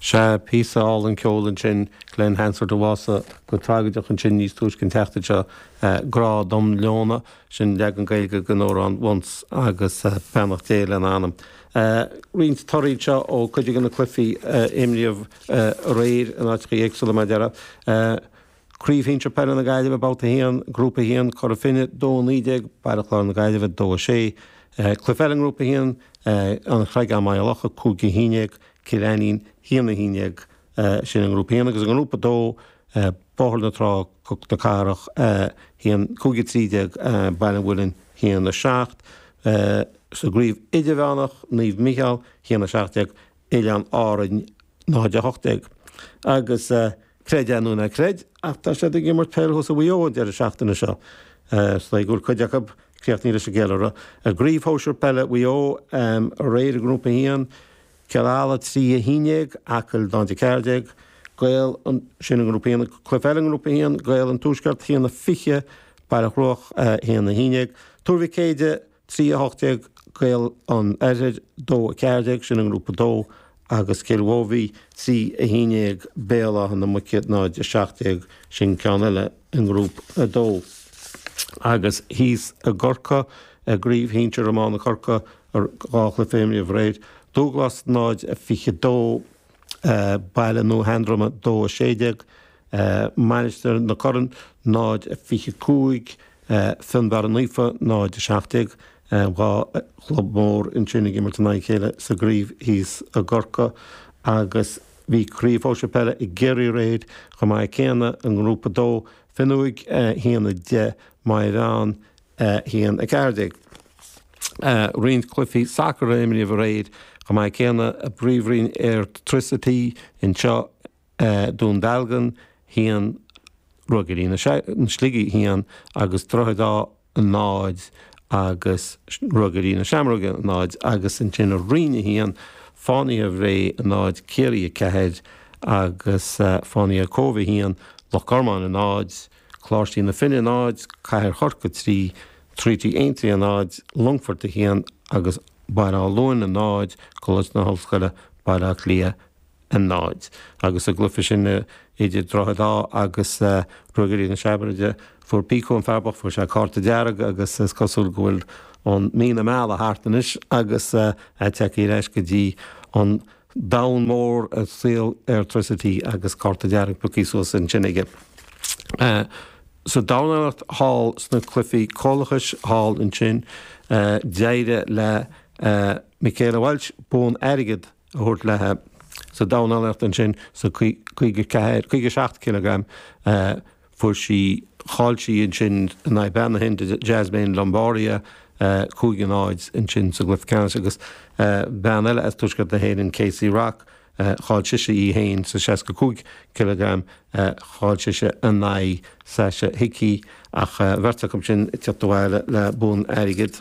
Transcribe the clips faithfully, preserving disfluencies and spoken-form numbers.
Sea, píosa álainn ceoil ansin, Glen Hansard a bhásaigh go tragóideach ansin níos túisce an tseachtain seo, Grá dom Leona, sin leagan Gaeilge den amhrán Once agus beannacht Dé lena anam. Roinnt torthaí anseo ó cuid de na cluichí a imríodh aréir in áiteacha éagsúla mar a déarfá. Craobh Shinsir Peile na Gaillimhe, Babhta a haon, Grúpa a haon, Cora Finne, dó a naoi déag, Baile Chláir na Gaillimhe, dó a sé. Cluiche eile i nGrúpa a haon, An Chreagán Maigh Locha, cúig a haon déag, Cill Ainnín, haon a haon déag. Sin i nGrúpa a haon. Agus i nGrúpa a dó, Bóthar na Trá, Cnoc na Cathrach, haon, cúig a trí déag, Baile an Mhuilinn, haon a seacht. Sa gCraobh Idirmheánach, Naomh Micheál, haon a seacht déag, Oileáin Árainn, náid a hocht déag. Agus creid é nó ná creid, ach tá siad ag imirt peil thuas i Mhaigh Eo an deireadh seachtaine seo. Is dóigh go bhfuil cuid acu críochnaithe leis an gceiliúradh. I gCraobh Shóisir Peile Mhaigh Eo aréir i nGrúpa a haon, Cill Ala trí a haon déag, Acaill náid a ceathair déag, Gaeil an, sin i nGrúpa a haon. Cluiche eile i nGrúpa a haon, Gaeil an Tuaisceart haon a fiche, Baile Chruaich haon a haon déag, Tuar Mhic Éide trí a hocht déag, Gaeil an Oirthir dó a ceathair déag, sin i nGrúpa a dó, agus Cill Mhóibhí trí a haon déag, Béal Átha na Muice náid a seacht déag, sin ceann eile i nGrúpa a dó. Agus thíos i gCorcaigh, i gCraobh Shinsir Iomána Chorcaí, dhá chluiche a imríodh aréir, Dúglas náid a fiche dó, Baile Nua Sheandroma dó a sé déag, Mainistir na Corann náid a fiche cúig, Fionnbarra Naofa náid a seacht déag. Dhá chlub mór ansin ag imirt in aghaidh a chéile sa gcraobh thíos i gCorcaigh agus bhí Craobh Shóisir Peile i gCiarraí aréir chomh maith céanna i nGrúpa a dó, Fionnuaidh a haon a deich, Maigh Mheáin a haon a ceathair déag. Roinnt cluichí sacair a imríodh aréir chomh maith céanna i bPríomhroinn Airtricity anseo, Dún Dealgan a haon, Ruagairí na Sligigh a haon agus Droichead Átha a náid agus Ruagairí na Seamróige a náid agus ansin i Roinn a haon, Fánaithe Bhré a náid, Ciarraí a ceathair agus Fánaithe Cóbh a haon, Loch Gormáin a náid, Coláistí na Finne a náid, Cathair Chorcaí a trí, Treaty Aontree a náid, Longfort a haon agus Baile Átha Luain a náid, Coláiste na hOllscoile, Baile Átha Cliath a náid. Agus sa gcluiche sin idir Droichead Átha agus Ruagairí na Seamróige, fuair Pico, an fear bocht, fuair sé cárta dearg agus is cosúil go bhfuil an mí na meala thart anois agus é tagtha ar ais go dtí an domhan mór, saol Airtricity agus cárta dearg pioctha suas ansin aige. Sa dornálaíocht thall sna cluichí comhlachais thall ansin, d'éirigh le Michaela Walsh bonn airgid a thabhairt léi sa dornálaíocht ansin sa caoga ceathair, caoga seacht cileagram. Fuair sí, chaill sí ansin in aghaidh bean na hIndia Jasmine Lamboria cúig a náid ansin sa gcluiche ceannais agus bean eile as tuaisceart na hÉireann Casey Rock, Chaill sise í fhéin sa seasca cúig cileagram, chaill sise in aghaidh Sasha Hickey ach bheirt acu sin ag teacht abhaile le bonn airgid.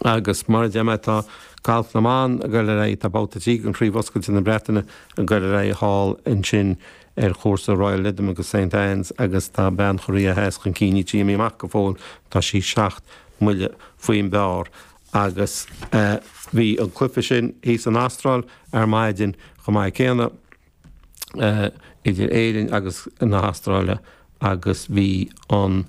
Agus mar a deir mé tá Galf na mBan ag dul ar aghaidh, tá babhta a trí den Chraobh Oscailte na Breataine ag dul ar aghaidh thall ansin ar chúrsa Royal Lytham agus Saint Anne's agus tá bean Chóiréa Theas chun cinn, níl sí imithe amach go fóill, tá sí seacht mbuille faoin bpar. Agus bhí an cluiche sin thíos san Astráil ar maidin chomh maith céanna idir Éirinn agus na hAstráile agus bhí an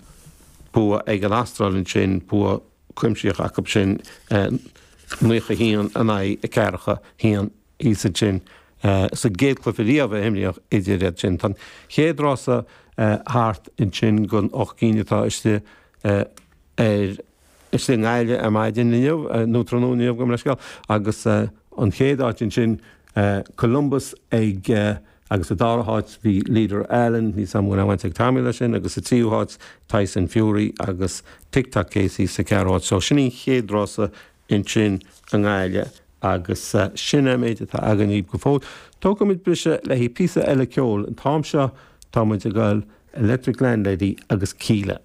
bua ag an Astráil ansin, bua cuimsitheach acu sin, naocha a haon in aghaidh a ceathracha haon thíos ansin sa gcéad chluiche riamh a imríodh idir iad sin. Tá an chéad rása thart ansin den ocht gcinn atá istigh ar Istigh i nGaillimh ar maidin inniu, nó tráthnóna inniu, gabh mo leithscéal, agus an chéad áit ansin, Columbus ag, agus sa dara háit bhí Leader Allen, níl 's agam an bhfuil aon bhaint ag Tommy leis sin, agus sa tríú háit Tyson Fury agus Tick Tock Casey sa ceathrú háit. So sin an chéad rása ansin i nGaillimh agus sin é an méid atá againn daoibh go fóill. Tógfaimid briseadh le haghaidh píosa eile ceoil. An t-am seo tá muid ag dul Electric Landlady agus Kíla.